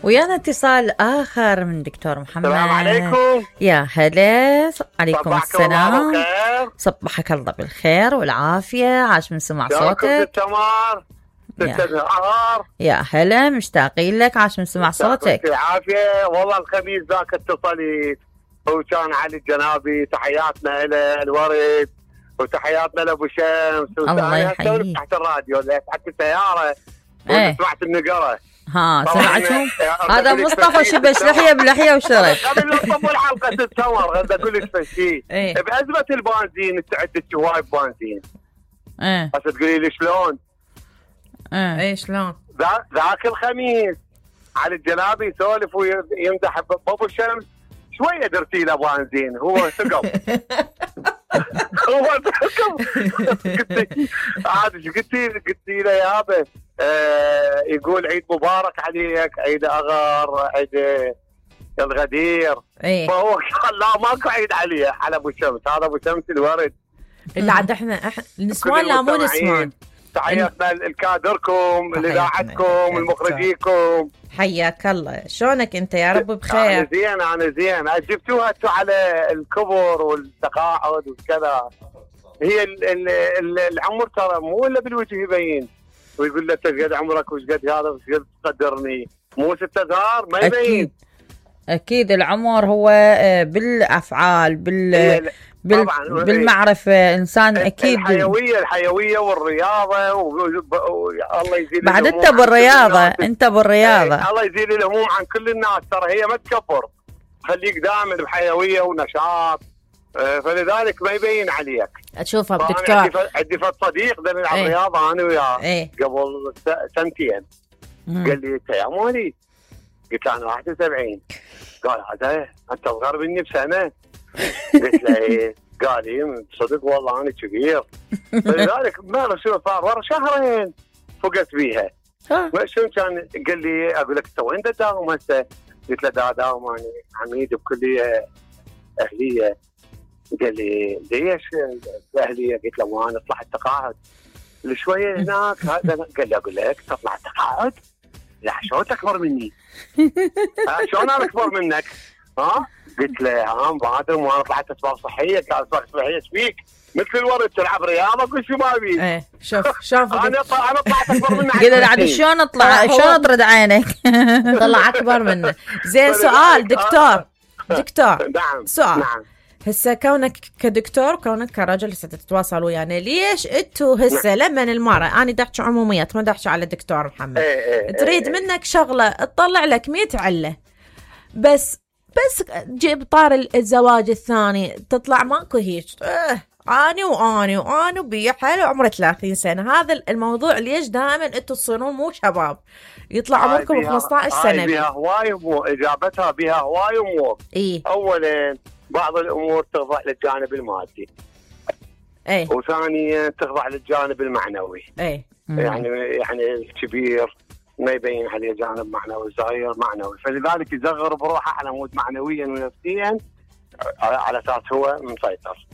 ويانا اتصال آخر من دكتور محمد. السلام عليكم. يا هلا. عليكم السلام. صبحك الله بالخير والعافية. عاش من سمع صوتك. يا هلا، مشتاقين لك. عاش من سمع صوتك. العافية. والله الخميس ذاك اتصلت وكان علي الجنابي، تحياتنا إلى الورد وتحياتنا لأبو شمس. الله يحييك. تحت الراديو تحت السيارة سمعت النقرة. سمعتهم. هذا مصطفى شبش لحية بلحية وشرب. قبل لا تطول حلقة السمر غدا أقول لك شيء. بأزمة البنزين انت عندك هواي بنزين. بس تقولي لي شلون؟ شلون؟ ذاك الخميس علي الجنابي يسولف ويمدح بابو الشمس، شوية درتي له بنزين. هو ثقب. هو ثقب. قلت له يابا يقول عيد مبارك عليك، عيد أغر، عيد الغدير. فهو قال لا ماكو عيد عليه، على ابو شمس. هذا ابو شمس الورد اللي عاد احنا النسوان. لا مو نسوان. تحياتنا لكادركم، لاذاعتكم، لمخرجيكم. حياك الله. شلونك انت؟ يا رب بخير. انا زين. جبتوها انتوا على الكبر والتقاعد وكذا. هي العمر ترى مو الا بالوجه يبين، ويقول لك قد عمرك وش قد هذا وش قد تقدرني، مو ست ازهار ما يبين. اكيد العمر هو بالافعال بالمعرفه. انسان اكيد الحيويه والرياضه والله يزيد بعد. انت بالرياضه الله يزيد الهموم عن كل الناس. ترى هي ما تكبر، خليك دائما بحيويه ونشاط. فلذلك ما يبين عليك. اشوفها بدكتور. عندي صديق ده نلعب رياضه انا وياه قبل سنتين. قال لي انت يا مولي؟ قلت له انا 71. قال هذا انت اصغر مني بسنه. قلت له ايه؟ قال لي صدق والله انا كبير. فلذلك ما شنو صار ورا شهرين فقت بيها. شنو كان؟ قال لي اقول لك انت وين تداوم هسه؟ قلت له داوم انا عميد بكليه اهليه. قال لي ليش الاهليه؟ قلت له ما نطلع التقاعد لشويه هناك. هذا قال لي اقول لك تطلع التقاعد؟ لا شلون اكبر مني؟ شلون انا اكبر منك؟ قلت له ما ادري، ما طلعت اسباب صحيه. قال اسباب صحيه ايش فيك؟ مثل الورد تلعب رياضه كل شيء ما ابي. شوف انا طلعت اكبر منك. قال له عاد شلون اطلع؟ شلون اطرد عينك؟ طلع اكبر منه. زين سؤال دكتور. نعم. سؤال. نعم. هسه كونك كدكتور، كونك كرجل هسه تتواصل ويانا، ليش انتو هسه لما المرأة، انا دحكي عموميات ما دحكي على الدكتور محمد، تريد منك شغلة تطلع لك 100 علة، بس جيب طار الزواج الثاني تطلع ماكو هيك. اني بي حلو عمره 30 سنة. هذا الموضوع ليش دائما انتو تصيرون مو شباب، يطلع عمركم 15 سنة؟ بيها هواي امور، اجابتها بيها هواي امور. اولا بعض الامور تخضع للجانب المادي. وثانيا تخضع للجانب المعنوي. يعني الكبير ما يبين عليه جانب معنوي، الصغير معنوي، فلذلك يزغر بروحه على مود معنويا ونفسيا على اساس هو مسيطر.